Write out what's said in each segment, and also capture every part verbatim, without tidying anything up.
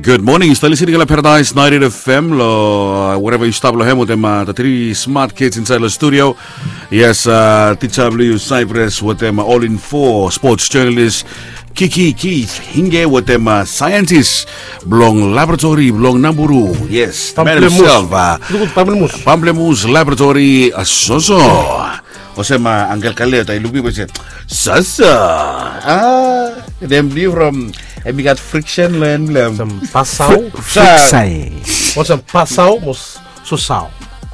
Good morning, yu stap listening long Paradise ninety-eight F M long, uh, wherever yu stap long hem wetem, uh, the three smart kids inside long studio. Yes, uh, tija blong yu Cyprus wetem, uh, All in Four sports journalist Kiki Keith Hinge wetem, uh, scientist blong laboratory blong Naburu. Yes, the man himself, uh, Pamplemousse Laboratory, uh, Soso. Olsem, uh, Uncle Kale, taem i luk mi, i se, Soso. Ah, nem blong yu from, hem i gat friction long en blong hem. Olsem Pasau. Fri-, Friksai. Olsem Pasau, mo s-, Sosau.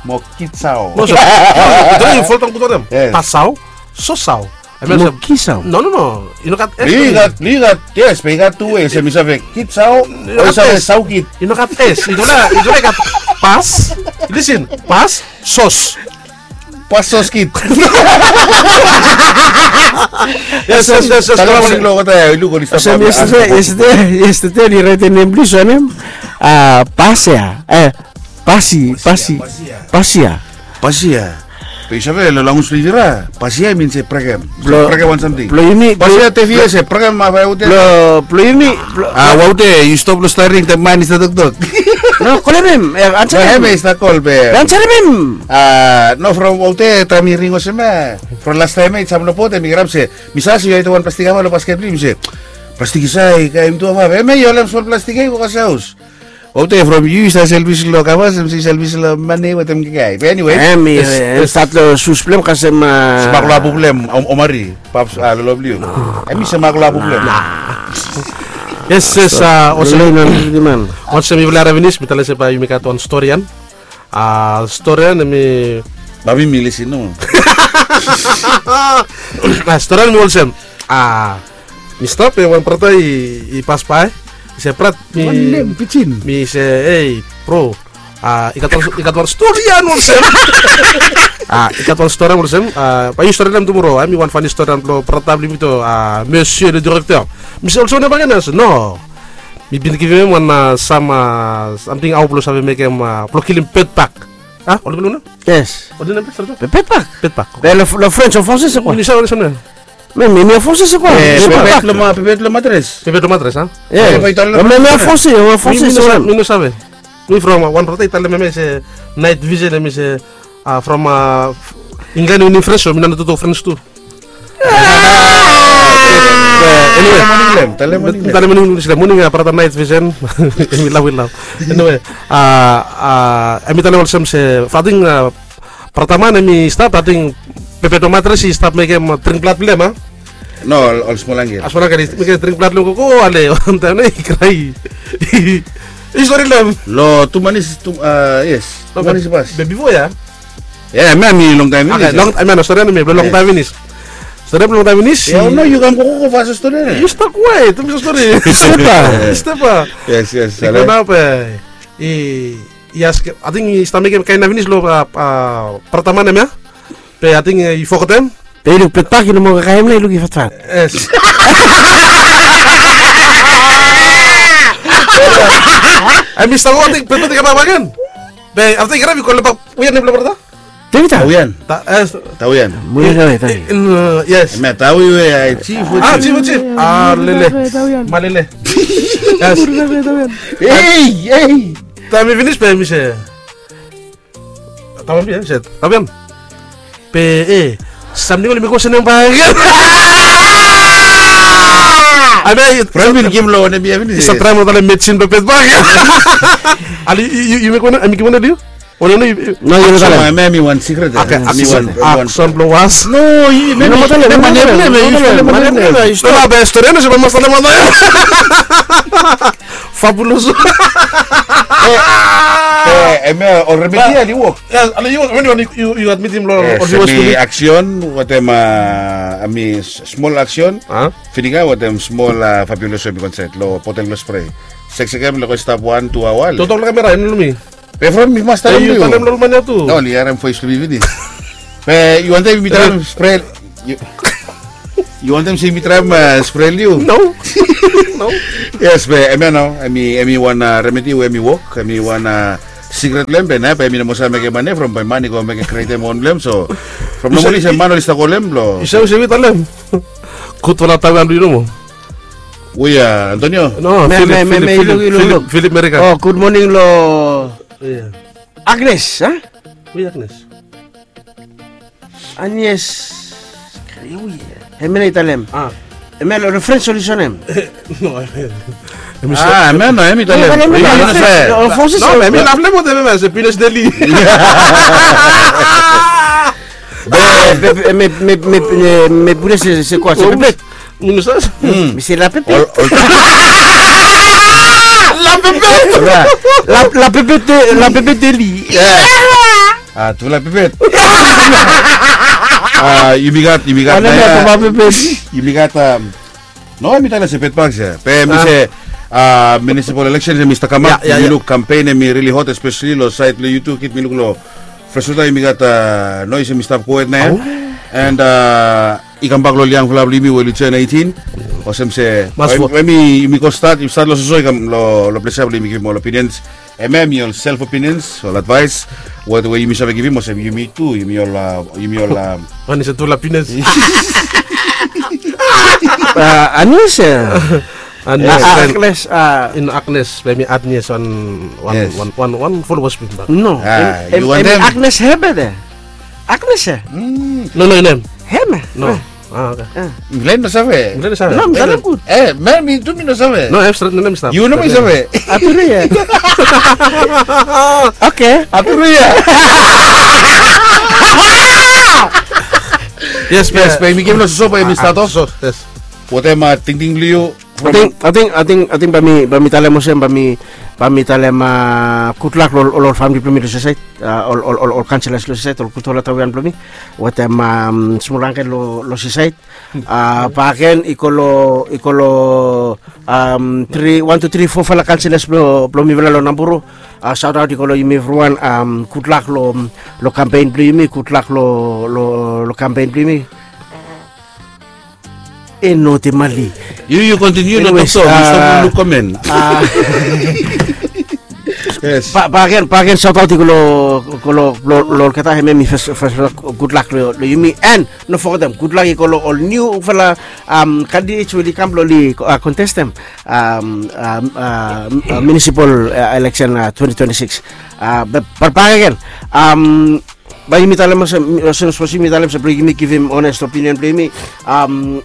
Mo Kitsau. Mo Sosau. Yu foldaon gud wetem. Yes. Pasau, Sosau. Hemia olsem Kisau. No, no, no. I no gat S. I gat, i gat, yes, be i gat tu ways. Olsem i save Kitsau, o i save Saukit. I no gat S. I no gat, i no gat Pas. Listen, Pas, Sos. Pas Sos Kit. Yes, yes, yes, yes. Tale mo ning lo kota ya, i luk oli stap. Olsem yestede, yestede, yestede oli raetem nem blong yu long hem. Ah, Pasia. Eh, Pasi, Pasi, Pasia. Pasia. Be yu save lo language blong Ivira, Pasia i min se brekem. Blong, brekem wan samting. Blong yumi, Pasia, blong, tefia se brekem, a, bai ute. Blong, blong yumi, blong, a, bai ute, yu stop lo staring, the man i stap toktok. No, kolem hem, eh, ansarem. Hem i stap kol be. Ansarem hem. A, no, from ute, taem i ring olsem ya. From lastaem ya, i sam lo bot, hem i grab se, mi save se yu gat wan plastik ava lo basket blong yu, mi se, plastik i save, i kaem tu ava. Hemia, yu holem smol plastik ya, yu go kasem haos. Ote from yu i save selfis lo kavas, hem i save selfis lo mane wetem kakae. Be anyway, hem i, yes, eh, yes, stat lo sus blong hem kasem, ah, smak lo apu blong hem, om-, omari, paps, ah, lo lo blong yu. Hem i smak lo apu blong hem. Yes, yes, ah, olsem, olsem yufala harim finis, mi talem se bae yumi gat wan storian. Ah, storian hemi, bae mi, mi lisin nomo. Ah, storian hemi olsem. Ah, mi stap, eh, wan brata i, i pasbae. I se, "Brat, mi," wan nem pijin. Mi se, "Ei, bro, ah, i gat wan, i gat wan storian olsem." Ah, i gat wan storian olsem. Ah, bae yu storian tumoro. Hemi wan fani storian blo brata blo yumi tu, ah, Monsieur le Directeur. Mi se, "Olsem wanem bakegen?" I se, "No. Mi bin givim hem wan, ah, sam, ah, samting hao blo save mekem, ah, blo kilim bedbug." Ah, oli kolem wanem? Yes. Oli nem, sorry. Be-, bedbug. Bedbug. Be lo, lo French o Français, c'est quoi? Mi no save, mi no save. Mais, mais, mais en français, c'est quoi? Eh, c'est pas pépette le ma-, pépette le matres. Pépette le matres, hein? Yeah. Eh, mais, mais en français, en français, c'est quoi? Mi no save. Mi from, ah, wan brata i talem hemia se night vision, hemi se, ah, from, ah, England, i winim French, so mi no, no totok French tu. Ah! Eh, anyway. Talem wanem, talem wanem. Talem wanem, talem wanem, ah, brata night vision. Mi love, mi love. Anyway, ah, ah, hemi talem olsem se, ating, ah, brata man hemi stap, ating pépette le matres i stap mekem, ah, dring blad blong hem, ah? No, ol, ol smol angel. Ah, smol angel, i mekem dring blad long hem, go, go, ale, wan taem nao i krae. I stori long hem. Lo tu manis, tu, ah, yes. No, tu manis be, pas. Be bifo ya? Ya, hemia hemi longtaem finis ya. Long, hemia no, storian hemi longtaem finis. Storian hemi longtaem finis. Ya, no, yu kam go, go, go fas storian ya. Yu stap kwet, tu mi stori. Stepa. Stepa. Yes, yes. I go nao be, i, i askem, ating i stap mekem kaen nao finis lo, ah, ah, brata man hemia. Be ating, eh, i fogetem. Be i luk bedbug i no moa kakae hem nao, i luk i fatfat. Yes. Hemi stap go, ating bedbug i kambak bakegen. Be afta i karem i kolem bak, we nem blo brata? Tevita. Tawian. Ta-, eh, Tawian. Muia Tawi, Tawi. In, uh, yes. Hemia Tawi we, ah, chief we, ah, chief we, chief. Ah, lele. Tawian. Malele. Yes. Tawian. Ei, ei. Taem i finis be mi se, Tawian, be, se, Tawian. Be, eh, samting oli mekem olsem nao bakegen. Hemia, from i givim lo wanem bia finis. Sa traem lo talem medsin blo bedbug. Ale, yu, yu, yu mekem wanem, yu mekem wanem, yu? Wanem, yu, yu. No, yu no talem. Hemia hemi wan secret, eh. Hemi wan, wan. Akson blo was. No, yu, hemi, no, hemi talem, hemi no talem, hemi, no talem, no talem. Be stori, no, se mas talem, no. Fabuloso. Eh, eh, hemia, o remedi ya, ale i wok. Ya, ale i wok, wen yu, yu, yu admitim lo, eh, o, hemi action, wetem, ah, hemi s-, smol action. Ah? Fininga wetem smol, ah, Fabuloso hemi konsep lo botel blo spray. Seksekem lo go stap wan, tu aoa. Totok lo kamera, en lo mi. Be from mi mas talem lo yu. Talem lo ol man ya tu. No, oli harem voes blo mi finis. Be yu wantem mi traem spray. Yu, yu wantem se mi traem, ah, spray lo yu? No. No. Yes, be, hemia nao, hemi, hemi wan, ah, remedi we hemi wok, hemi wan, ah, secret blo hem, be nao, be mi no moa save mekem mane from, be man i go mekem createm on blo hem, so. From no mane se man oli stap kolem lo. Yu save, yu save talem. Gud fala Tawian blo yu nomo. Hu ya, Antonio? No, me, Philip, me, me, Philip, me, Philip, iluk, iluk, Philip, iluk. Philip Merika. Oh, good morning lo Agnes, ha? Hu ya Agnes? Agnes. Hu ya? Hemia nao i talem. Ah. Hemia lo refren solusen hem. No, hemia. Ah, hemia no, hemia i talem. No, hemia i talem. No, hemia i talem. No, hemia i talem, hemia se Pines Deli. Me, me, me, me, me, me, pure se, se kwa, se pepet. Mi no save. Mi se la pepet. La pepet. La, la pepet, la pepet Deli. Ah, tu la pepet. Ah, yumi gat, yumi gat. Yumi gat, um, no, mi talem se pet bak se. Be mi se, ah, municipal election hemi stap kamap. Yumi luk kampen hemi really hot, especially lo saed lo YouTube, kit mi luk lo Freswater, yumi gat, ah, noes hemi stap gohed nao. And, ah, i kambak lo ol yangfala blo yumi we oli turn eighteen. Olsem se, we yumi, yumi go stat, yumi stat lo soso, i kam lo, lo ples ia blo yumi givim ol opinions. Hemia hemi ol self opinions, ol advaes we, we yumi save givim, olsem yumi tu, yumi ol, ah, yumi ol, ah, Agnes, tu la Pines. Ah, Agnes, eh. Agnes, ah, Agnes, ah. In Agnes, be mi Agnes wan, wan, wan, wan, wan followers blo mi bak. No. Ah, hemi, hemi Agnes Herbert, eh. Agnes, eh. No, no, hemi. Hemi, eh. No. Ah, okay. Mifala i no save. Mifala i no save. No, mifala i no gud. Eh, man, mi tu mi no save. No, hem stret, no, hem stret. Yu no mi save. Atu ria. Okay. Atu ria. Yes, yes, be mi givim lo soso bae mi stat of. Soso, yes. Watem tingting blo yu? Ating, ating, ating, ating bae mi, bae mi talem olsem, bae mi, bae mi talem, ah, gudlak lo, lo, lo famili blo mi lo Seasaed, ah, ol, ol, ol, ol kanselas lo Seasaed, ol gud ol atawean blo mi. Watem, um, smol angkel lo, lo Seasaed. Ah, bakegen i go lo, i go lo, um, tri, wan, tu, tri, fofala kanselas blo, blo mifala lo Namburu. Ah, saot aot i go lo yumi evriwan, um, gudlak lo, lo kampen blo yumi, gudlak lo, lo, lo kampen blo yumi. E no te mali. Yu, yu kontiniu lo toktok, mi stap luk komen. Ah, yes. Ba, bakegen, bakegen saot aot i go lo, go lo, lo, lo olgeta, hemia hemi fes, fes, gudlak lo, lo yumi. And no fogetem, gudlak i go lo ol niufala, um, candidates we oli kam blo oli, ah, kontestem, um, um, ah, ah, municipal, ah, election, ah, twenty twenty-six. Ah, be, be bakegen, um, bae yumi talem olsem, olsem, olsem yumi talem olsem blo yumi givim honest opinion blo yumi, um,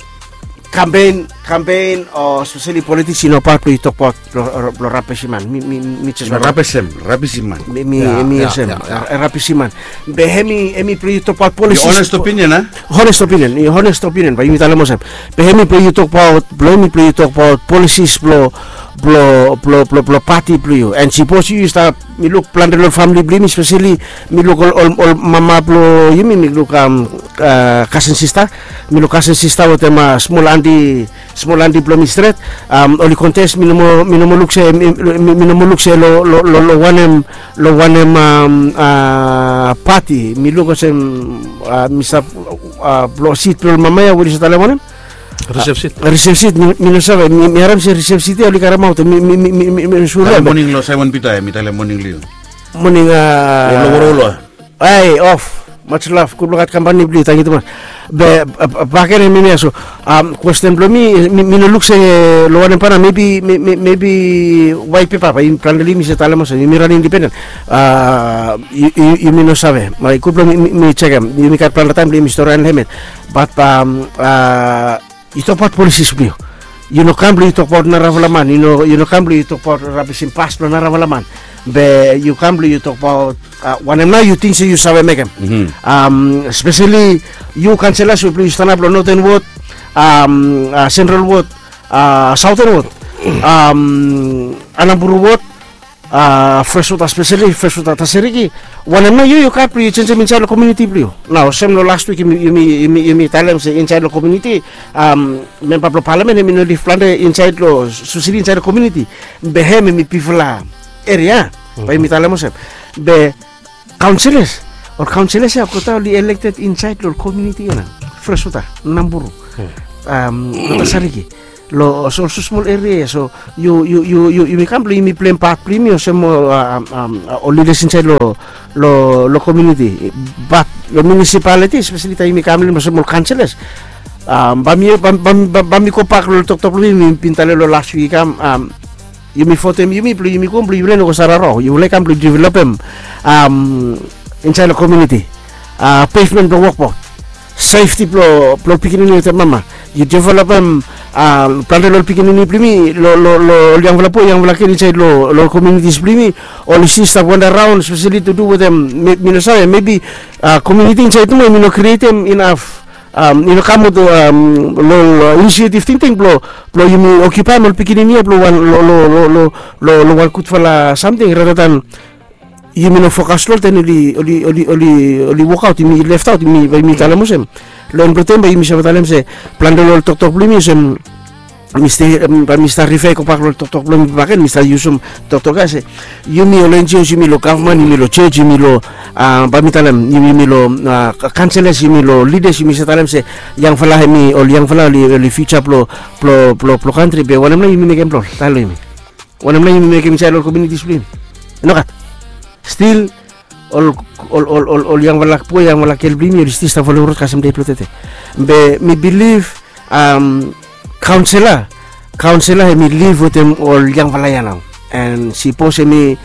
kampen, kampen o especially politiks i no paot blo yu tokbaot blo, blo rabisim man. Mi, mi, mi jes wantem. Rabisim, rabisim man. Mi, mi, mi olsem, rabisim man. Be hemi, hemi blo yu tokbaot policies. Honest opinion, a? Honest opinion, honest opinion, bae yumi talem olsem. Be hemi blo yu tokbaot, blo yumi blo yu tokbaot policies blo, blo, blo, blo, blo pati blo yu. And sipos yu, yu stap, mi luk plante lo famili blo yumi, especially mi luk ol, ol, ol mama blo yumi, mi luk, um, ah, kasen sista, mi luk kasen sista watem, ah, smol anti, smol anti blo mi stret, um, oli kontes, mi no moa, mi no moa luk se, mi, mi, mi no moa luk se lo, lo, lo, lo wanem, lo wanem, um, ah, pati, mi luk olsem, ah, mi stap, ah, blo sit blo ol mama ia, we oli save talem wanem? Reserve seat. Ah, reserve seat, mi, mi no save, mi, mi harem se reserve seat ia oli karemaot, mi, mi, mi sure. Talem moning lo Simon Peter, mi talem moning lo yu. Moning, ah, lo, lo, lo, lo. Ai, of. Much love. Gud blong gat kampani blong yu, tangkiu tumas. Be, ah, ah, bakegen hemia so, um, kwesten blong mi, mi, mi no luk se lo wanem pana, maybe, may-, may-, maybe white paper, bae yumi plan blong yumi se talem olsem, yumi ran independent. Ah, yu, yu, yumi no save. Bae gud blong mi, mi, mi jekem. Yumi gat plante taem blong yumi stori long helmet. But, um, ah, yu tokbaot policies blong yu. Yu no kam blong yu tokbaot narafala man. Yu no, yu no kam blong yu tokbaot rabisim pas blong narafala man. Be yu kam blong yu tokbaot, ah, wanem nao yu ting se yu save mekem. Mhm. Um, especially yu kanselas we blong yu stanap long Northern Ward, um, ah, Central Ward, ah, Southern Ward, um, Anamburu Ward, ah, Freshwater, especially Freshwater Taseriki. Wanem nao yu, yu gat blong yu jenjem insaed long komuniti blong yu. Nao olsem long las wik yumi, yumi, yumi, yumi talem se insaed long komuniti, um, memba blong palamen hemi no liv plante insaed long, especially insaed long komuniti. Be hem hemi bigfala eria, bae yumi talem olsem. Be kaonselas, ol kaonselas ia olgeta oli elected insaed long komuniti ia nao. Freshwater, Namburu, um, Taseriki. Long ol smosmol eria ia, so yu, yu, yu, yu, yumi kam blong yumi pleim pat blong yumi olsem, ah, um, um, ol lidas insaed long, long, long komuniti. Bat long municipality, especially taem yumi kam long olsem ol kanselas, Bae mi gobak long toktok blong mi mi bin talem long las wik i kam. Yumi votem yumi blong yumi go blong yumi laik no go save rarawa, yumi laik kam blong developem insaed long komiuniti, pevmen blong wokbaot, sefti blong pikinini wetem mama. Yu developem plante long ol pikinini blong yumi, long ol yangfala boe, yangfala gel insaed long komiunitis blong yumi. Oli stil stap wanda raon speseli tu du wetem, mi no save, mebi komiuniti insaed tu mo mi no krietem inaf, i no kam aot long inisiatif tingting blong yumi okiupaem ol pikinini ya blong wan long wan gudfala samting rata dan yumi no fokas long ol ten oli wokaot, yumi leftaot, yumi bae yumi talem olsem. Long en blong taem bae yumi save talem se plante long ol toktok blong yumi olsem, mi stil bae mi stap rifea i gobak long ol toktok blong yumi bakegen, mi stap yusum toktok ya se yumi ol enjios, yumi long gavman, yumi long jos, yumi long, bae mi talem, yumi long kanselas, yumi long lidas, yumi save talem se yangfala hemi, ol yangfala oli fiuja blong kantri. Be wanem nao yumi mekem blong ol talem long yumi? Wanem nao yumi mekem insaed long ol komiunitis blong yumi? Nogat. Stil ol yangfala boe, yangfala gel blong yumi oli stil stap folem rod kasem dei blong tede. Be mi bilif kaonsela, kaonsela hemi liv wetem ol yangfala ya nao. An sipos hemi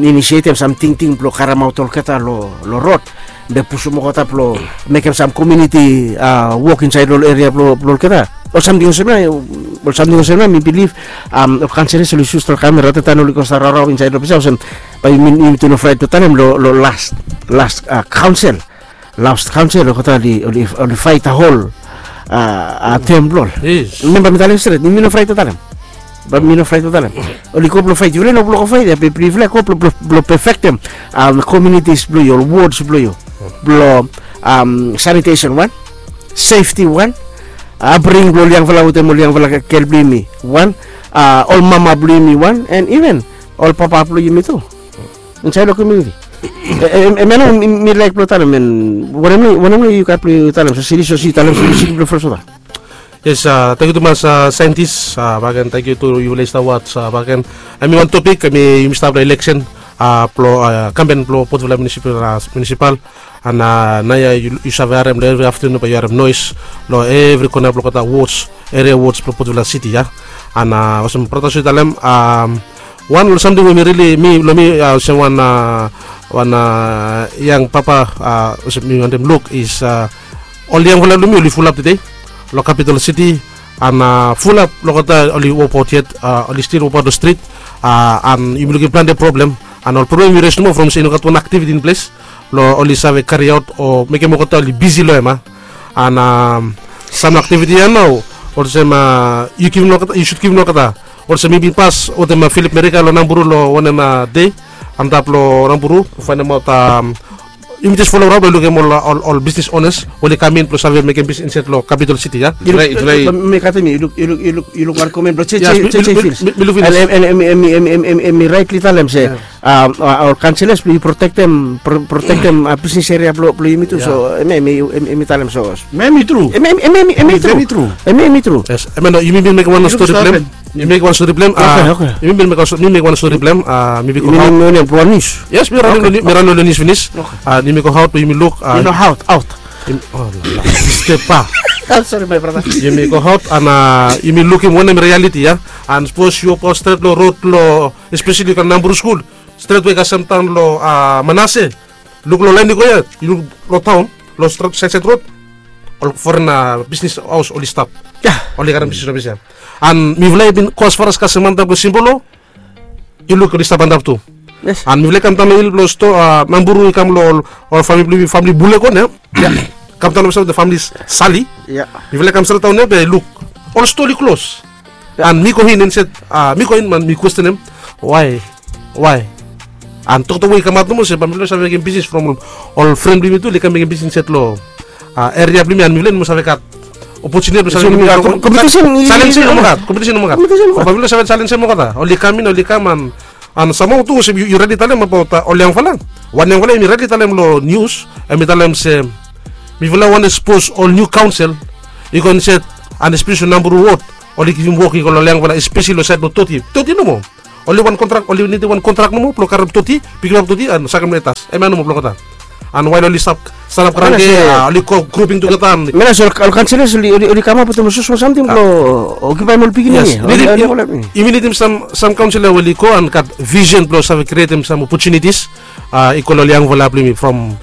inisietem sam tingting blong karemaot olgeta long rod, be pusum olgeta blong mekem sam komiuniti wok insaed long ol eria blong olgeta. Ol samting olsem ya, ol samting olsem ya mi bilif ol kanselas oli sus long kamera rata dan oli go stap rarawa insaed long ples ya olsem. Bae yumi tu no fraet blong talem long las, las kaonsel, las kaonsel olgeta oli faet hol tem blong ol. Memba mi talem stret, yumi no fraet blong talem. Bae mi no fraet blong talem. Oli go blong faet, yufala i no blong go faet ya, be yufala i go blong pefektem komiunitis blong yu, ol wods blong yu, blong sanitesen wan, sefti wan, apbringing blong ol yangfala wetem ol yangfala gel blong yumi wan, ol mama blong yumi wan, an iven ol papa blong yumi tu insaed long komiuniti. Hemia nao mi laek blong talem, an wanem nao yu gat blong yu talem? Sosili, sosili, talem sosili blong fresota. Yes, tangkiu tumas saentis bakegen, tangkiu tu yufala i stap was bakegen. Hemi wan topik hemi yumi stap long eleksen blong kampen blong Port Vila Munisipal. An naoia yu save harem long evri aftenun bae yu harem noes long evri kona blong olgeta wods, eria wods blong Port Vila Siti ya. An olsem brata Sui i talem, wan long samting we mi rili, mi long mi olsem wan, wan yang papa, olsem mi wantem luk is ol yangfala blong yumi oli fulap tede long kapitol siti, an fulap long olgeta oli wokbaot yet, oli stil wokbaot long strit. An yumi lukim plante problem, an ol problem i res nomo from se i no gat wan aktiviti in ples blong oli save kariaot o mekem olgeta oli bisi long hem. An sam aktiviti ya nao olsem yu givim long olgeta, yu sud givim long olgeta. Olsem mi bin pas wetem Filip Merika long Namburu long wanem dei antap long Namburu blong faenemaot yumi jes folem raon blong lukim ol bisnis onas we oli kam in blong save mekem bisnis insaed long kapitol siti ya. Mi luk wan komen blong Jeje Fils. Mi luk finis. Hemi raetli talem se ol kanselas blong yu protektem, protektem bisnis eria blong yumi tu. So hemi talem so. Hemi tru. Hemi tru. Hemi tru. Hemia nao yumi bin mekem wan stori blong hem. Yumi mekem wan stori blong hem. Yumi bin mekem wan stori blong hem. Mi bin go haot. Yes, mi ranem long nius finis. Yumi go haot blong yumi luk. Yumi go haot an yumi lukim wanem realiti ya. An sapos yu wok stret long rod long, espeseli yu kam Namburu skul, stret we i kasem daon long Manase, luk long laen i go ya, yu luk long taon, long stret saed saed rod, ol foren bisnis haos oli stap. Oli karem bisnis long ples ya. An mifala i bin go asfar as kasem antap long Simbolo, yu luk oli stap antap tu. An mifala i kam daon long hil blong stoa, Namburu, i kam long ol famili blong yumi, famili Bulekon ya. Kam daon long stret, famili Sali. Mifala i kam stret daon ya be luk ol stoa oli klos. An mi go in instead, mi go in man mi kwestenem wae, wae. An toktok we i kamaot nomo se bae mifala i no save mekem bisnis from ol fren blong yumi tu oli kam mekem bisnis insaed long eria blong yumi, an mifala i no moa save gat opotuniti blong save mekem kompetisen. Kompetisen i no moa gat, kompetisen i no moa gat. Bae mifala i no save jalenjem olgeta. Oli kam in, oli kam an An samtaem tu olsem yu raetli talem abaot ol yangfala. Wan yangfala hemi raetli talem long nius, hemi talem se mifala wantem sapos ol niu kaonsel i go insaed, an espeseli long Namburu wod, oli givim wok i go long ol yangfala, espeseli long saed blong Toti. Toti nomo. Oli wan kontrak, oli nidim wan kontrak nomo blong karem Toti, pikimap Toti an sakem long etas. Hemia nomo blong olgeta. An wael oli stap sanap kranke, oli go gruping tugeta. Menas ol kanselas oli kamap wetem ol smosmol samting blong okipaem ol pikinini. Yumi nidim sam kaonsela we oli go an gat visen blong save krietem sam opotunitis. I go long ol yangfala blong yumi from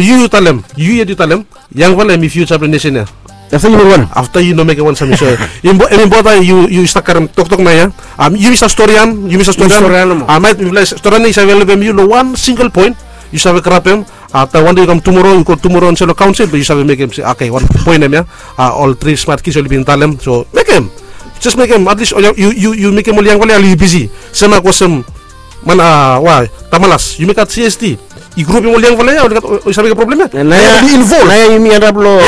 yu yu talem, yu yet yu talem, yangfala hemi fiusa blong nesen ya. Afta yumi wanem? Afta yu no mekem wanem samting so, em i bota yu stap karem toktok nao ya. Yumi stap storian, yumi stap storian. Maet mifala storian ya i save helpem yu long wan singel poen. Yu save grabem. Afta wande yu kam tumoro, yu go tumoro insait long kaonsel blong yu save mekem se, oke, wan poen hemia. Ol tri smat kis oli bin talem, so mekem. Jes mekem, atlis yu mekem ol yangfala ya oli bisi. Sem mak olsem man, wa, Tamalas, yumi gat C S T. I grupim ol yangfala ya oli save mekem problem ya. Nao ya yumi antap long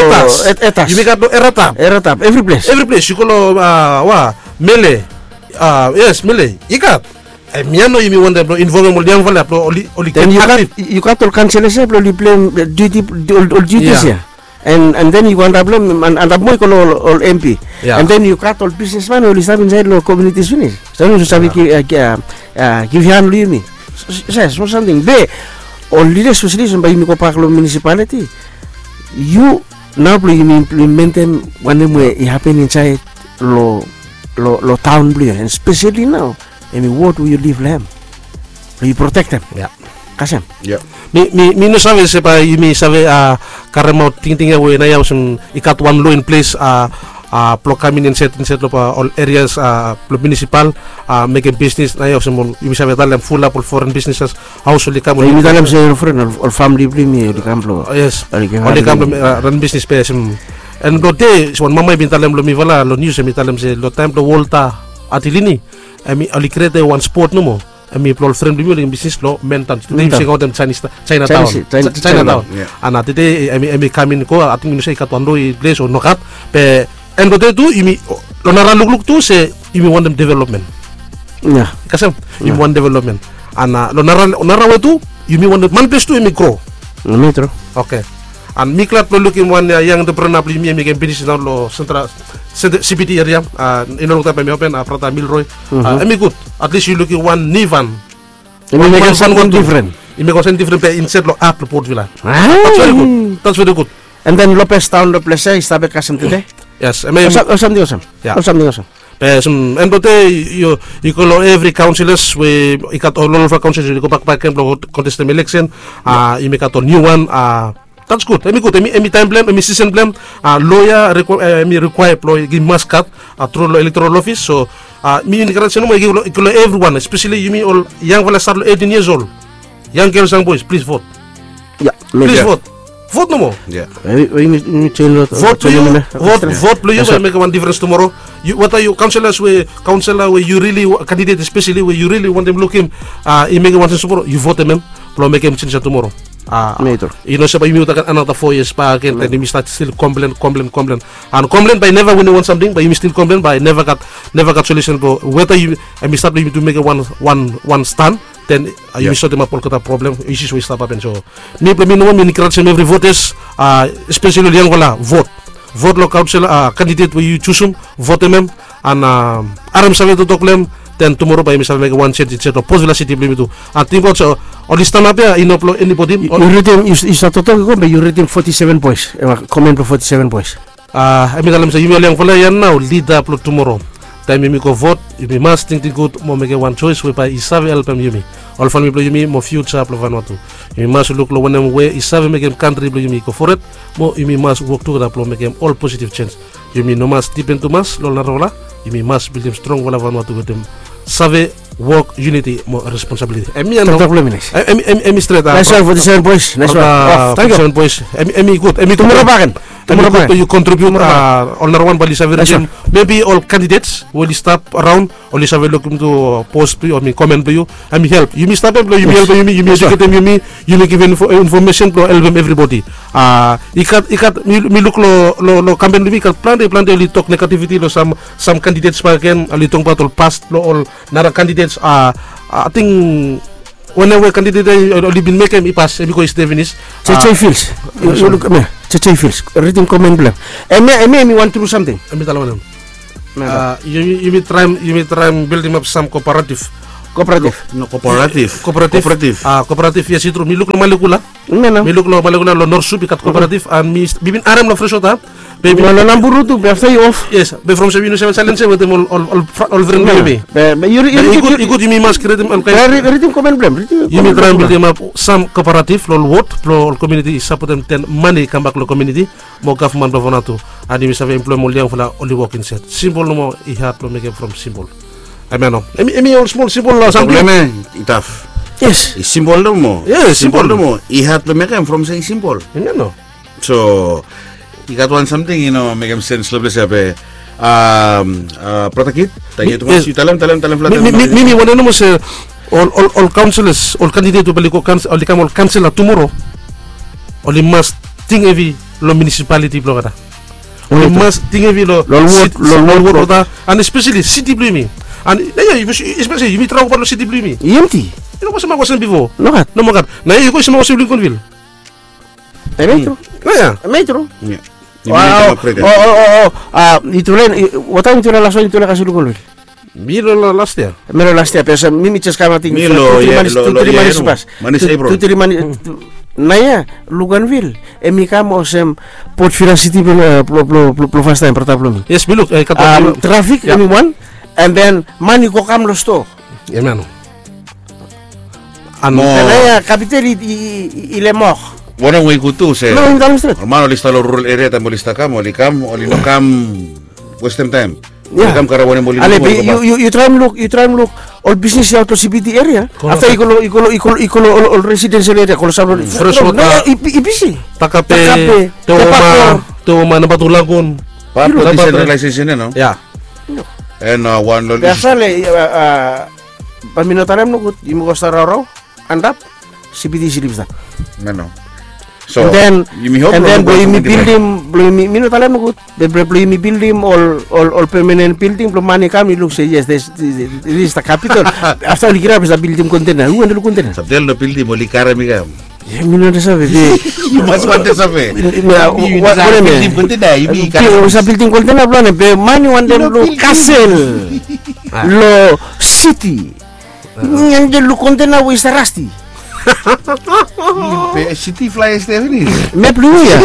Etas. Yumi gat long Eratap. Eratap, evri ples. Evri ples yu go long, wa, Mele. Yes, Mele i gat. Hemia nao yumi wantem blong involvem ol yangfala ya blong oli gat aktif. Yu gat ol kanselas ya blong oli pleim duti, ol dutis ya. And then yu go antap long antap moa yu go long ol M P. And then yu gat ol bisnesman we oli stap insait long komunitis finis. Save yu save givhan long yumi. Yes, smol samting be ol lidas speseli olsem bae yumi gobak long munisipaliti. Yu nao blong yumi implementem wanem we i hapen insait long taon blong yu, and speseli nao hemi wod we yu liv long hem, blong yu protektem. Kasem. Mi no save se bae yumi save karemaot tingting ya we nao ya olsem i gat wan lo in ples blong kam in insait long ol erias blong munisipal, mekem bisnis nao ya olsem yumi save talem fulap ol foren bisnis haos oli kam. Yumi talem se ol foren, ol famili blong yumi oli kam blong, oli kam blong ran bisnis be olsem. And blong dei wan mama i bin talem long mifala long nius, hemi talem se long taem blong Walter Atilini, hemi oli krietem wan spot nomo. Hemi blong ol fren blong yumi oli mekem bisnis long Mentan. Tede yumi se kaontem Chinese, Chinatown. Chinatown. Ana tede hemi kam in go, ating mi no save i gat wan lo i ples o nogat. Be en blong dei tu yumi long nara lukluk tu se yumi wantem developmen. Kasem, yumi wantem developmen. Ana long nara we tu yumi wantem man ples tu hemi gro. Oke. An mi glad blong lukim wan yang entrepreneur blong yumi hemi ken pinis nao long Central, C B D eria. I no longtaem bae hemi open, brata Milroy. Hemi gud. Atlis yu lukim wan niu van. Hemi mekem samting difren. I mekem wan samting difren be insait long at blong Port Vila. That's very good. That's very good. And then Lopez Town long ples ya i stap bek kasem tede. Yes, hemi olsem samting olsem. Olsem samting olsem. Be olsem en blong dei yu go long evri kaonselas we i gat ol olfala kaonselas we oli gobak bakegen blong kontestem eleksen. Yumi gat ol niu wan. That's good. Hemi gud. Hemi taem blong hem, hemi sisen blong hem. Lo ya hemi rikwaea blong i mas gat tru long elektoral ofis. So mi enkarejem nomo i go long evriwan, espeseli yumi ol yangfala stat long eighteen years old. Yang gels, yang boes, plis vot. Plis vot. Vot nomo. Vot blong yu, vot blong yu bae i mekem wan difrens tumoro. Weta yu kaonselas we, kaonsela we yu rili, kandidet espeseli we yu rili wantem lukim i mekem wan sens tumoro, yu votem hem blong mekem jenj ya tumoro. I no se bae yumi olgeta gat anata fo yias bakegen, then yumi stat stil komplen, komplen, komplen. An komplen bae i neva winim wan samting, bae yumi stil komplen bae i neva gat, neva gat solusen blong weta yumi, hemi stat blong yumi tu mekem wan, wan, wan stan. Then yumi sotemap olgeta problem, isus we i stap hapen. So mi blong mi nomo mi enkarejem evri votas, espeseli ol yangfala, vot. Vot long kaonsela, kandidet we yu jusum, votem hem. An harem save toktok blong hem. Then tumoro bae yumi save mekem wan jenj insait long Port Vila Siti blong yumi tu. An tingbaot se oli stanap ya i no blong enibodi. Yu ridim, yu save toktok i go be yu ridim foti seven boes, komen blong foti seven boes. Hemi talem se yumi ol yangfala ya nao lida blong tumoro. Taem yumi go vot, yumi mas tingting gud mo mekem wan joes we bae i save helpem yumi, ol famili blong yumi mo fiuja blong Vanuatu. Yumi mas luk long wanem we i save mekem kantri blong yumi i go fored, mo yumi mas wok tugeta blong mekem ol positiv jenj. Yumi no mas dipen tumas long ol narafala. Yumi mas bildim strongfala Vanuatu wetem save wok, yuniti mo responsabiliti. Hemi stret. Hemi gud. Hemi gud blong yu kontribiut ol narawan bae oli save ridim. Mebi ol kandidets we oli stap raon oli save lukim tu pos blong yu o mi komen blong yu. Hemi help. Yumi stap ya blong yumi helpem yumi, yumi eduketem yumi, yumi givim infomesen blong helpem evribodi. I gat, i gat, mi luk long kampen blong yumi i gat plante, plante oli tok negativiti long sam, sam kandidets bakegen, oli tokbaot ol pas blong ol nara kandidets. Ating wanem we kandidet ya oli bin mekem i pas, hemi go i stap finis. J J Fields. Yu luk, J J Fields, ridim komen blong hem. Hemia, hemia hemi wan tru samting. Hemi talem wanem? Yumi traem, yumi traem bildimap sam kooperatif Kooperatif. No, kooperatif. Kooperatif. Kooperatif. A, kooperatif, yes, i tru. Mi luk long Malekula. Mi luk long Malekula, long North Shore i gat kooperatif, and mi bin harem long Freshwater. Be mi no, long Namburu tu, be afta i of. Yes, be from se yu no save salense wetem ol, ol, ol, ol fren blong yumi. Be, be yu, yu, i gud, i gud yumi mas krietem ol kaen. Ridim komen blong hem. Yumi traem bildimap sam kooperatif long ol wod blong ol komuniti i sapotem, den mane i kambak long komuniti. Mo gavman blong Vanuatu, and yumi save emploem ol yangfala oli wok insaed. Simpol nomo, i had blong mekem from simpol. Hemia no, hemi, hemi ol smol simpol samting. Problem ya, i taf. Yes. I simpol nomo. Yes, simpol nomo. I had blong mekem from se i simpol. Hemia no. So i gat wan samting i no mekem sens long ples ya be, um, uh, Brata Kit, tangkiu tumas. Yu talem, talem, talem flat. Mi, mi, mi wantem nomo se ol, ol, ol kaonselas, ol kandidet we bae oli go, oli kam ol kaonsela tumoro, oli mas ting hevi long munisipaliti blong olgeta. Oli mas ting hevi long, long wod, long wod blong olgeta, and espeseli siti blong yumi. And ya, ya, espeseli yumi travel gat long siti blong yumi. Empti. Yu no go save mas go sem bifo. Nogat. Nomo gat. Naoia yu go, yu save mas go sem Lincolnville. Hemia tru. Hemia tru. Wow. O, o, o, o. A, i tu laen, i, wataem i tu laen las, i tu laen kasem Lincolnville? Mi long las yia. Mi long las yia, be olsem mi, mi jes kam, ating tu, tri manis i pas. Manis April. Tu, tri manis. Naoia Lincolnville hemi kam olsem Port Vila City blong, blong, blong fastaem, brata blong mi. Yes, mi luk, e, gat wan trafik, hemi wan. And then mane i go kam long stoa. Hemia no. And mo, naoia kapital i, i, i, i lemok. Wanem we i gud tu se, no, yu talem stret, ol man oli stap long rural eria, taem oli stap kam, oli kam, oli no kam westem taem. Oli kam karem wanem oli luk. Yu, yu, yu traem luk, yu traem luk ol bisnis ya aot long CBD eria. Afta i go long, i go long, i go long, i go long ol, ol residensel eria, go long sam long Freshwater, i, i bisi. Takape, Takape, Tewoma, Tepakor. Tewoma, namba tu Lagoon. Pap long disentralaesesen ya nao. Ya. And, uh, wan long, be afta le, uh, uh, Be mi no talem nogud, yumi go stap raorao, antap, CBD i slip stap. No, no. So, and then, yumi hop, and then blong yumi bildim, blong yumi, mi no talem nogud, be blong yumi bildim ol, ol, ol permanent building blong man i kam i luk se, yes, this, this is the capital. Afta oli kirap i stap bildim kontena. Hu handel kontena? Stap talem long bildim, oli karem i kam. Ia, mi no save be. Yu mas wantem save. Yu save bildim kontena, yu save bildim kontena blong wanem? Be man i wantem luk kasel long siti. Yu wantem luk kontena we i stap rasti. Be siti flae i stap finis. Map blong yu ya.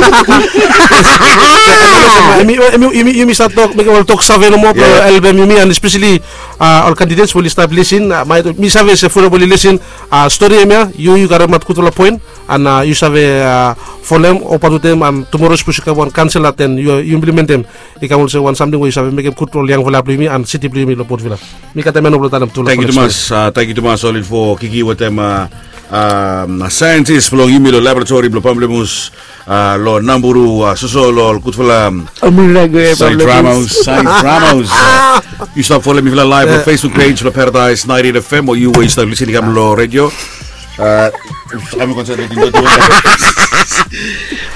Yumi, yumi, yumi, yumi stap tok, mekem ol tok save nomo blong helpem yumi, and especially, a, ol candidates we oli stap lisin, a, mi save se fulap oli lisin, a, stori hemia, yu, yu karemaot gudfala poen. And, a, yu save, a, folem, opat wetem, and tumoro sapos i kam wan kaonsela, then yu, yu implementem. I kam olsem wan samting we yu save mekem gud long ol yangfala blong yumi and siti blong yumi long Port Vila. Mi gat hemia nomo blong talem tu long. Tangkiu tumas, a, tangkiu tumas ol info, Kiki wetem, a, a, saentis blong yumi long laboratori blong pamplemus, a, long Namburu, a, soso long ol gudfala, a, Said Ramos, Said Ramos. A, yu stap folem mifala laev long Facebook page blong Paradise ninety-eight FM, o yu we yu stap lisin i kam long redio. A,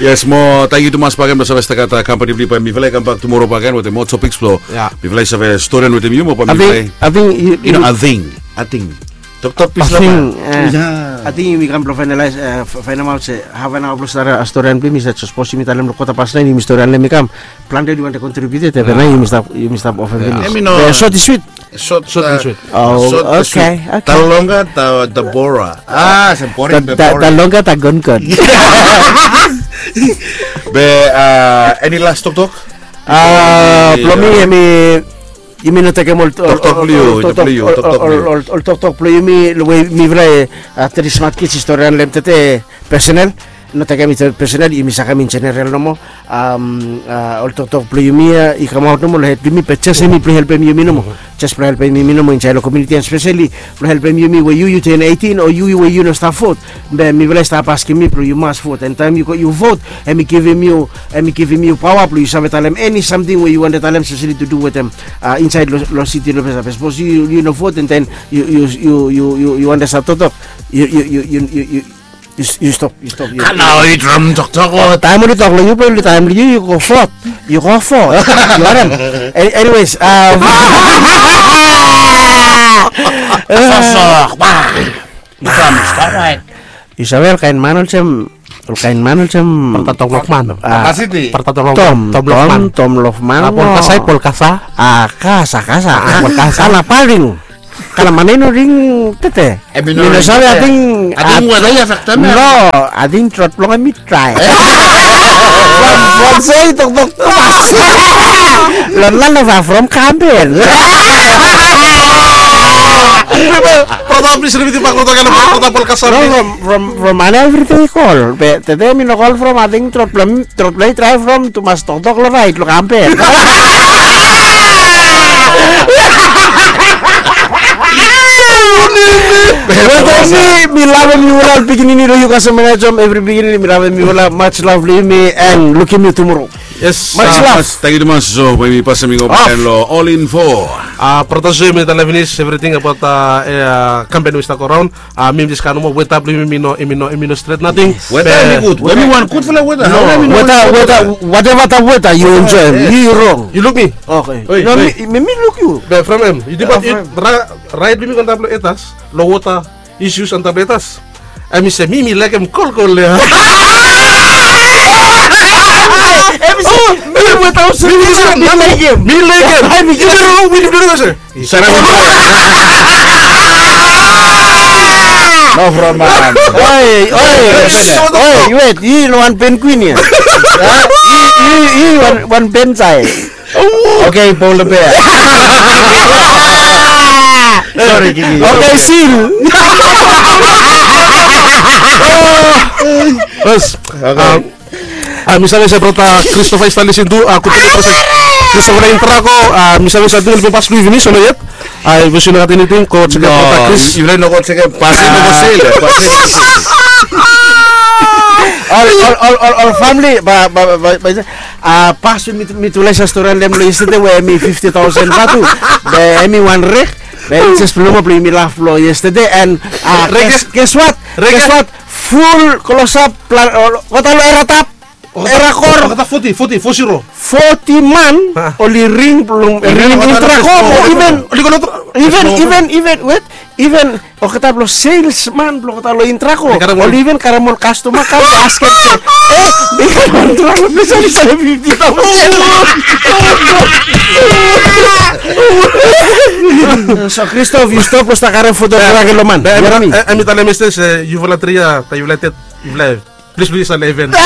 yes, mo tangkiu tumas bakegen blong save stap gat, a, kampani blong yu, bae mifala i kambak tumoro bakegen wetem moa topiks blong mifala i save storian wetem yu mo bae mifala i, ating, yu no, ating, ating. Toktok pis long ating. Ating yumi kam blong faenalaes, e, faenemaot se haf an aoa blong stap, a, storian blong yumi, sapos yumi talem long kota pas naen, yumi storian long hem i kam. Plante oli wantem kontribiut, be naoia yumi stap, yumi stap ofem finis. Hemi no. Be sot i swit. Sot, sot, a, swit. O, sot, oke, swit. Oke. The longer the, the poorer. A, se boring, the, be the, the boring. The longer the gongon. Be, a, eni las toktok? A, blong mi, hemi, yumi no tekem ol, ol, toktok blong yu, ol, toktok blong yu, ol, toktok blong yu, ol, ol toktok blong yumi, we mifala, a, tri smat kids i storian long hem tede, personal. No tekem i tede personal, yumi sakem in general nomo. Am, a, ol toktok blong yumi ya i kamaot nomo long hed blong yumi, be jes hemi blong helpem yumi nomo. Jes blong helpem yumi nomo insaed long komuniti, and espeseli blong helpem yumi we yu, yu ten eighteen, o yu we yu no stap vot. Be mifala i stap askem mi blong yu mas vot. And taem yu go, yu vot, hemi givim yu, hemi givim yu paoa blong yu save talem eni samting we yu wantem talem, espeseli to do wetem, a, insaed long, long siti long ples. Sapos yu, yu no vot, and then yu, yu, yu wantem stap toktok, yu, yu, yu stop, yu stop, yu. Kanaoit from toktok. Taem oli tok long yu, be oli taem long yu, yu go vot. Yu go vot. Yu harem? An-, anyways, a, sosok. Yu save olkaen man olsem, olkaen man olsem Brata Tom Lofman. A, Tom, Tom Lofman. Tom Lofman. A, Polkasa, Polkasa. A, Kasa, Kasa. A, Polkasa. Ana Paring. Kalaman i no ring tete. Mi no save, ating, ating weta i afektem. No, ating trot blong hem i drae. From, from se i toktok tumas. Lo none of us from Kampen. Brata, plis ripit bak lo olgeta, lo olgeta podcast. No, from, from, from ane evriting i kol. Be tede mi no kol from ating trot blong hem Trot blong hem i drae from tumas toktok lo raet lo Kampen. Wetem mi, mi lavem yufala ol pikinini lo Newcastle Manajom, evri pikinini mi lavem yufala, much love lo yumi, and lukim yu tumoro. Yes, much love. Tangkiu tumas. So we mi pasem i go bak lo All Info. Brata, so yumi talem finis evriting abaot Kampen we i stap go raon. A, mi mi jes kam nomo, weta blong yumi i no, i no, i no stret nating. Weta i gud. Weta, weta, whatever the weather, yu enjoy hem. Yu rong. Yu luk mi. Oke. No, mi, mi luk yu. Be from hem, yu tingbaot raet blong yumi antap lo Etas, lo wota issues antap lo Etas. Hemi se mi, mi laekem kolkol ia. Hemi se mi, weta, mi laekem. Mi laekem. Hemi se. Sara. No problem. Oi, oi, oi, wet, yu no wan pen kwin ia. Yu, yu, yu wan, wan pen sae. Oke, Paul the Bear. Sori, Kiki. Oke, Sil. Bos. Oke. A, mi save se brata Christopher i stap lisin tu, a, gud moning brata Christopher Intrako, a, mi save se ating oli bin pas lo yu finis o no yet. A, if yu no gat eniting, go jekem brata Chris. Yu no go jekem, pasim i go sel, pasim i go sel. Ol, ol, ol, ol, ol famili, ba, ba, ba, ba, a, pas we mi, mi tulai stori long hem lo yestede we hemi fifti taosen vatu, be hemi wan rek, be jes blong, blong yumi laf lo yestede, and, a, guess, guess what? Guess what? Ful klosap, olgeta lo Eratap, Erakor. Olgeta foti, foti, fo zero. Foti man oli ring blong, ring Intrako, mo even, even, even, even, wet, even olgeta blong salesman blong olgeta lo Intrako oli even karem ol kastoma kam askem se, e, mi karem ol Intrako, mi save, save fifti taosen. So Christopher, yu stop lo stap karem foto drag lo man. Be, be, hemi talem yestede se yufala tri ia, taem yufala ted, yufala Plis, plis, eleven. Nao,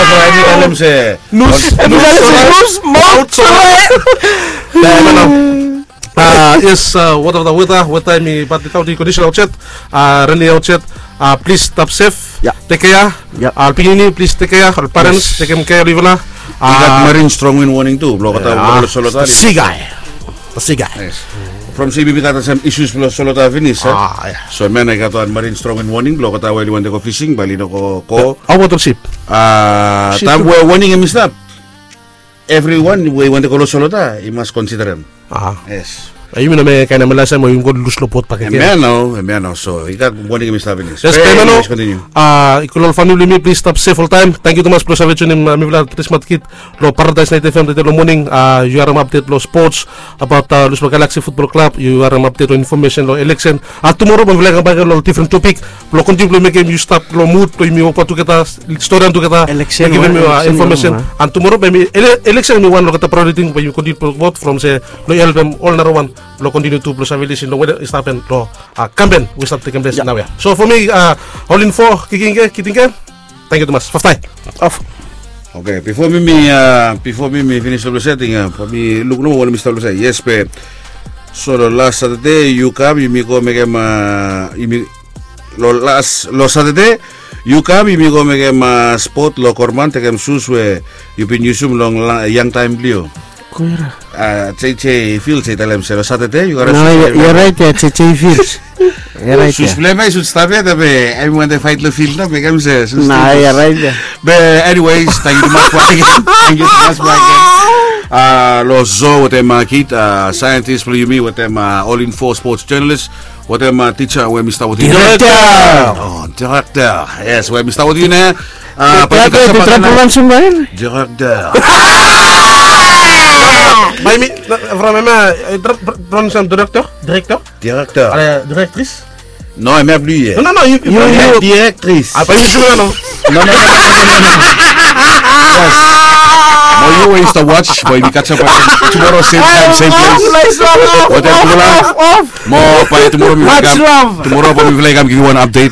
so hemi talem se nus, nus, maot sore. Yes, whatever the weather, weather hemi bad, without the condition outside, rainy outside, plis stap sef, tek kea. Ol pikinini, plis tek kea, ol parents, tekem kea long yufala. I gat marine strong wind warning tu blong olgeta we i go lo Solota. Sigai. Sigai. From se yumi gat sam issues blong Solota finis, a? So hemia nao i gat wan marine strong wind warning blong olgeta we oli wantem go fishing bae oli no go. Hao abaot ol sip? Taem we warning hemi stap, evriwan we i wantem go lo Solota i mas konsiderem. Yes. Yumi no mekem kaen hemia lasem we yumi go lus lo bot bakegen. Hemia nao, hemia nao, so i gat warning hemi stap finis. Yes, be hemia nao. Kontiniu. I kol ol famili blong yumi, plis stap sef oltaem. Tangkiu tumas blong save tunim mifala Tri Smat Kid lo Paradise Night F M tede lo moning. Yu harem update lo sports abaot Lusmon Galaxy Football Club. Yu harem update lo information lo election. Tumoro bae mifala i kambak lo difren topik blong kontiniu blong mekem yu stap lo mud blong yumi wokbaot tugeta, storian tugeta, givim yu information. An tumoro bae hemi, election hemi wan lo olgeta priority ting bae yumi kontiniu blong wok from se blong helpem ol narawan blong kontiniu tu blong save lisin lo we i stap hapen lo kampen we i stap tekem ples naoia. So from mi, Ol Info, Kikinke, Kitinke, tangkiu tumas. Faftai. Oke, bifo mi, mi, bifo mi, mi finis lo blong se ating, mi luk nomo wanem i stap lo se. Yes, be. So lo las Satade yu kam, yumi go mekem, yumi, lo las, lo Satade yu kam, yumi go mekem spot lo Korman, tekem sus we yu bin yusum long yang taem blong yu. Kuira. J J Fields i talem se lo Satade yu gat. Nao yu raet ia, J J Fields. Sus blong hem i sud stap ia, be hemi wantem faet lo field nao, be kam se sus. Nao yu raet ia. Be anyways, tangkiu tumas bakegen. Tangkiu tumas bakegen. Lo show wetem Kid, scientist blong yumi, wetem Ol Info sports journalist, wetem tija we hemi stap wetem yu. Director. O, director. Yes, we hemi stap wetem yu nao. Tija, tija, tija, program sembain. Director. Bae mi, from hemia, pronunciation director, director. Director. Ale, directrice. No, hemia blong yu ia. No, no, no, yu, yu, yu. Directrice. Apa yu sure no? No, no, no, no, no, no. Mo yu we yu stap watch, bae yumi catch up again tomorrow, same time, same place. Wetem tufala. Mo bae tumora mifala i kam, tumora bae mifala i kam givim wan update.